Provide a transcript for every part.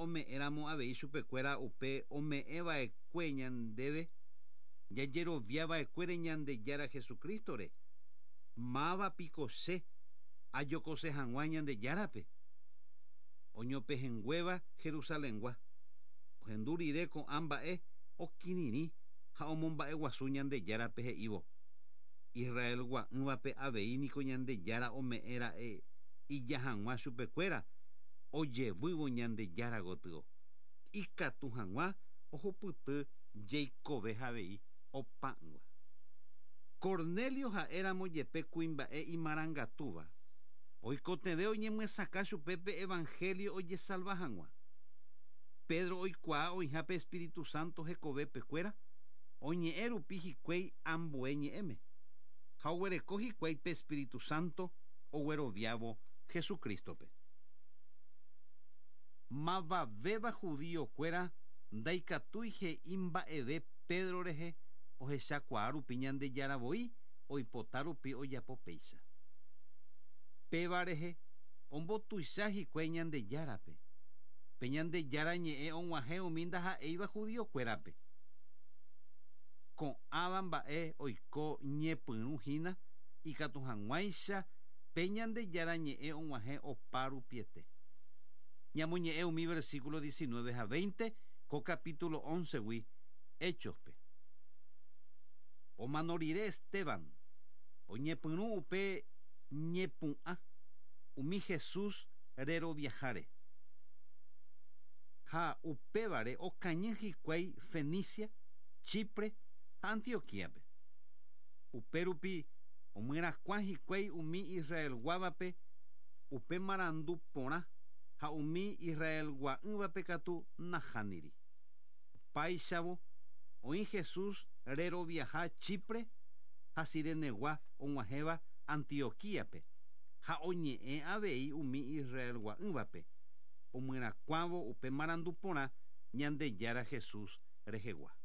ome'ẽramo avei chupekuéra upe ome'ẽva'ekue ñandéve jajeroviava'ekuére Ñandejára Jesucristo-re, máva piko che ajokose hag̃ua Ñandejárape? Oñopehẽnguéva Jerusalengua, ohendu rire ko'ã mba'e okirirĩ ha omomba'eguasu Ñandejárape he'ívo, Israelgua'ỹvape avei niko Ñandejára ome'ẽ ra'e ija hag̃ua chupekuéra ojevývo Ñandejára gotyo, ikatu hag̃ua ohupyty jeikove avei opa'ỹva. Cornelio ha'éramo jepe kuimba'e imarangatúva, oikotevẽ oñemyesakã chupe pe evangelio ojesalva hag̃ua. Pedro oikuaa oĩha pe Espíritu Santo hekovepekuéra, oñe'ẽ rupi hikuái ambue ñe'ẽme, ha oguereko hikuái pe Espíritu Santo ogueroviávo Jesucristo-pe. Mavavéva judío-kuéra ndaikatúi he'i mba'eve Pedro rehe ohechakuaa rupi Ñandejára voi oipota rupi ojapo péicha. Péva rehe ombotuicha hikuái Ñandejárape. Pe Ñandejára ñe'ẽ og̃uahẽ umi ndaha'éiva judío-kuérape. Ko'ãva mba'e oiko ñepyrũ hína ikatu hag̃uáicha pe Ñandejára ñe'ẽ og̃uahẽ opa rupiete. Ñamoñe'ẽ umi versículo 19 ha 20 ko capítulo 11-gui Hechos-pe. Omano rire Esteban, oñepyrũ upe ñepu'ã umi Jesús reroviaháre. Ha upévare okañy hikuái Fenicia, Chipre ha Antioquía-pe. Upérupi omyerakuã hikuái umi Israelguávape upe marandu porã ha umi Israelgua'ỹvape katu nahániri. Opáichavo, oĩ Jesús reroviaha Chipre ha Cirenegua og̃uahẽva Antioquía-pe, ha oñe'ẽ avei umi Israelgua'ỹvape, omyerakuãvo upe marandu porã Ñandejára Jesús rehegua.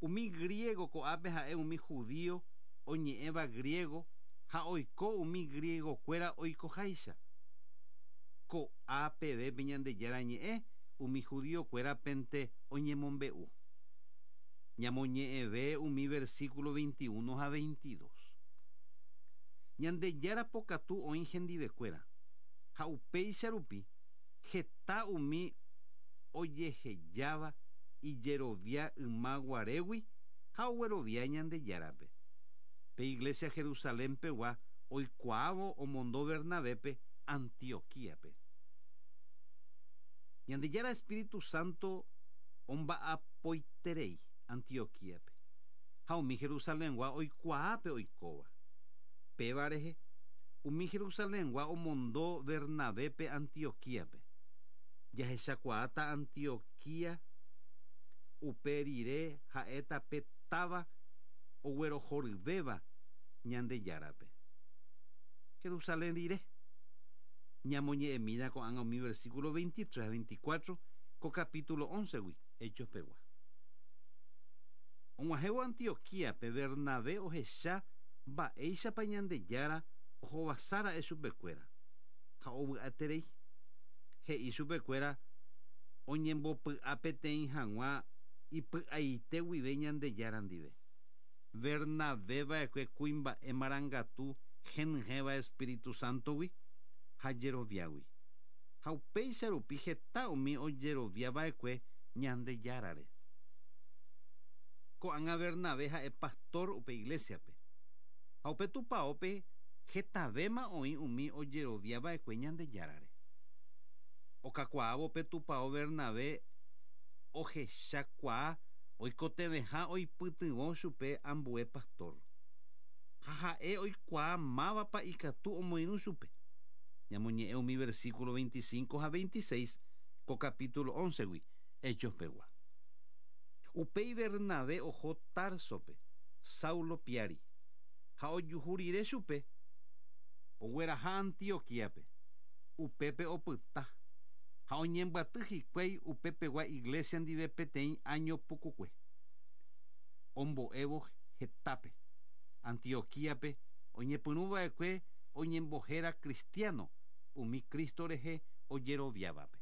Umi griego ko'ápe ha'e umi judío oñe'ẽva griego ha oiko umi griego-kuéra oikoháicha. Ko'a peve pe Ñandejára Ñe'ẽ umi judío-kuérapente oñemombe'u. Ñamoñe'ẽve umi versículo 21 ha 22. Ñandejára pokatu oĩ hendivekuéra, ha upéicha rupi heta umi ojehejáva ijerovia yma guarégui ha oguerovia Ñandejárape. Pe iglesia Jerusalén pegua oikuaávo omondo Bernabépe Antioquíape. Ñandejára Espíritu Santo omba'apoiterei Antioquíape, ha umi Jerusalengua oikuaa pe oikóva. Péva rehe, umi Jerusalengua omondo Bernabépe Antioquíape. Jahechakuaáta Antioquía upe rire ha'éta pe táva oguerohoryvéva Ñandejárape. Jerusalén rire. Ñamoñe'ẽmína ko'ág̃a umi versículo 23 ha 24 ko capítulo 11-gui Hechos pegua. Og̃uahẽvo Antioquíape, Bernabé ohecha mba'éichapa Ñandejára ohovasára'e chupekuéra, ha ovy'aterei. He'i chupekuéra oñembopy'a peteĩ hag̃ua ipy'aite guive Ñandejára ndive. Bernabé va'ekue kuimba'e marangatu henyhẽva Espíritu Sántogui ha jeroviágui. Ha upéicha rupi heta umi ojerovia va'ekue Ñandejárare. Ko'ág̃a Bernabé ha'e pastor upe iglésiape. Ha upe tupaópe hetavéma oĩ umi ojerovia va'ekue Ñandejárare. Okakuaávo pe tupao Bernabé ohechakuaa oikotevẽha oipytyvõ chupe ambue pastor. Ha ha'e oikuaa mávapa ikatu omoirũ chupe. Ñamoñe'ẽ umi versículo 25 ha 26 ko capítulo 11-gui Hechos pegua. Upéi Bernabé oho Társope, Saulo piári, ha ojuhu rire chupe, ogueraha Antioquíape. Upépe opyta, ha oñembyaty hikuái upepegua iglésia ndive peteĩ áño pukukue. Ombo'évo hetápe, Antioquíape oñepyrũ va'ekue oñembohéra cristiano umi Cristo rehe ojeroviávape.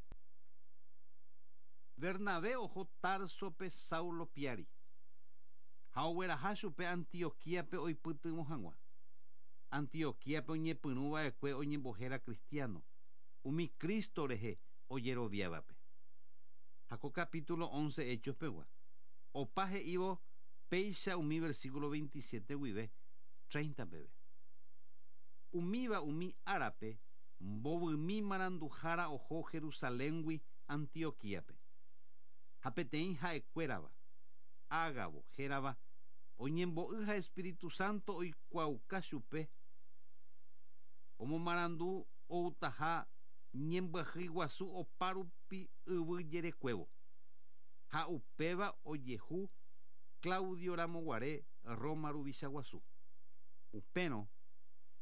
Bernabé oho Társope Saulo piári, ha ogueraha chupe Antioquíape oipytyvõ hag̃ua. Antioquíape oñepyrũ va'ekue oñembohéra cristiano, umi Cristo rehe ojeroviávape. Ha ko capítulo 11 Hechos pegua, opa he'ívo péicha umi versículo 27 guive 30 peve. Umíva umi árape mbovymi maranduhára oho Jerusaléngui Antioquíape. Ha peteĩ ha'ekuérava, Ágabo hérava, oñembo'y ha Espíritu Santo oikuaauka chupe, omomarandu outaha ñembyahýi guasu opa rupi yvy jerekuévo. Ha upéva ojehu Claudio ramoguare Roma ruvicha guasu. Upérõ,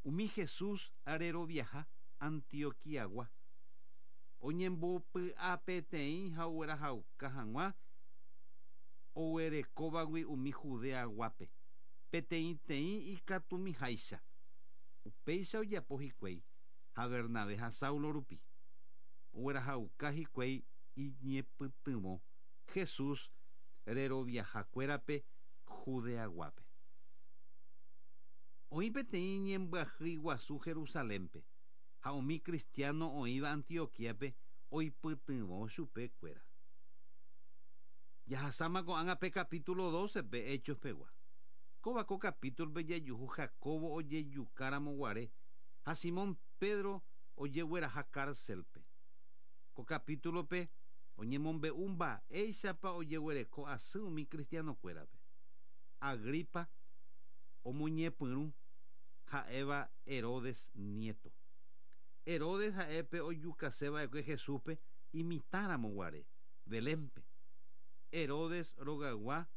umi Jesús reroviaha Antioquiagua, oñembopy'apeteĩ ha oguerahauka hag̃ua oguerekóvagui umi Judeaguápe, peteĩteĩ ikatumiháicha. Upéicha ojapo hikuái ha Bernabé ha Saulo rupi, oguerahauka hikuái iñepytyvõ Jesús reroviahakuérape Judeaguápe. Oĩ peteĩ ñembyahýi guasu Jerusalénpe, ha umi cristiano oĩva Antioquíape oipytyvõ chupekuéra. Jahasáma ko'ág̃a pe capítulo 12-pe Hechos pegua. Kóva ko capítulo-pe jajuhu Jacobo ojejukáramo guare ha Simón Pedro ojegueraha cárcel-pe. Ko capítulo-pe oñemombe'u mba'éichapa ojeguereko asy umi cristiano-kuérape. Agripa omoñepyrũ ha'éva Herodes nieto. Herodes ha'e pe ojukase va'ekue Jesúspe imitãramo guare, Belénpe. Herodes rogaygua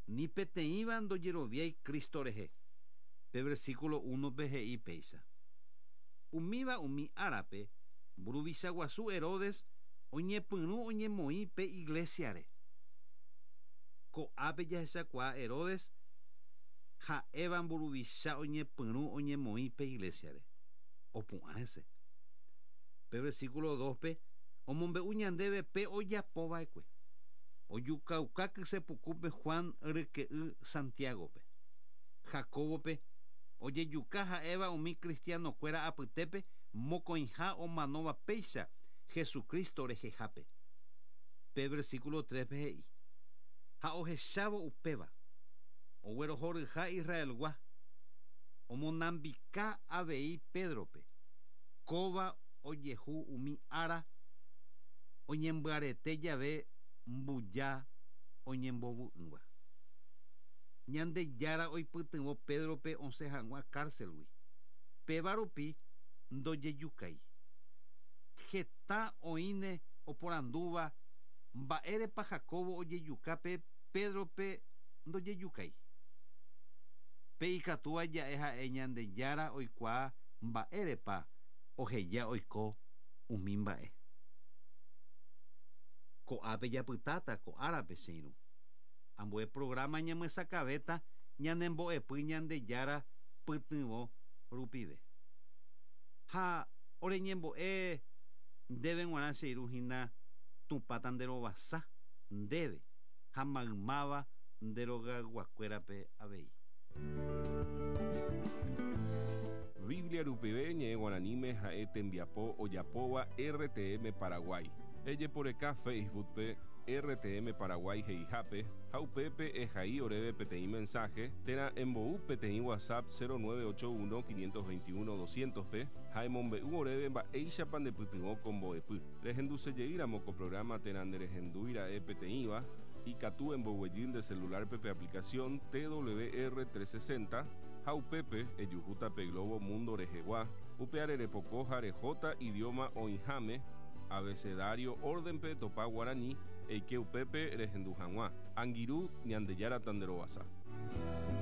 ni peteĩva ndojeroviái Cristo rehe. Pe versículo 1-pe he'i péicha: Umíva umi árape, mburuvicha guasu Herodes oñepyrũ oñemoĩ pe iglésiare. Ko'ápe jahechakuaa Herodes ha'éva mburuvicha oñepyrũ oñemoĩ pe iglésiare. Opu'ã hese. Pe versículo 2-pe omombe'u ñandéve pe ojapo va'ekue. Ojukauka kysepukúpe Juan ryke'y Santiágope. Jacóbope ojejuka ha'éva umi cristiano-kuéra apytépe mokõiha omanóva péicha Jesucristo rehehápe. Pe versículo 3-pe he'i: Ha ohechávo upéva, oguerohoryha Israelgua, omonambika avei Pédrope, kóva ojehu umi ára oñembyarete jave mbuja oñembovu'ỹva. Ñandejára oipytyvõ Pédrope osẽ hag̃ua cárcelgui, péva rupi ndojejukái. Heta oĩne oporandúva mba'érepa Jacobo ojejuka pe Pédrope ndojejukái. Pe ikatúva ja'e ha'e Ñandejára oikuaa mba'érepa oheja oiko umi mba'e. Ko'ápe japytáta ko árape che irũ. Ambue programa ñamyesakãvéta ñanembo'epy Ñandejára pytyvõ rupive. Ha oreñembo'e ndéve g̃uarã che irũ hína Tupãta nde rovasa ndéve ha maymáva nde rogayguakuérape avei. Biblia rupive ñe'ẽ guaraníme ha'e tembiapo ojapóva RTM Paraguay. Ejeporeka Facebook-pe RTM Paraguay he'ihápe ha upépe ehai oréve peteĩ mensaje térã embou peteĩ WhatsApp 0981 521 200-pe ha emombe'u oréve mba'éichapa ndepytyvõ ko mbo'epy. Rehendusejeýramo ko programa térã nderehendúira'e peteĩva, ikatu emboguejy nde celular-pe pe aplicación TWR 360 ha upépe ejuhúta pe globo mundo rehegua, upe arerepoko ha rehóta idioma oĩháme, abecedario orden-pe etopa guarani, eike upépe rehendu hag̃ua. Angirũ, Ñandejára tanderovasa.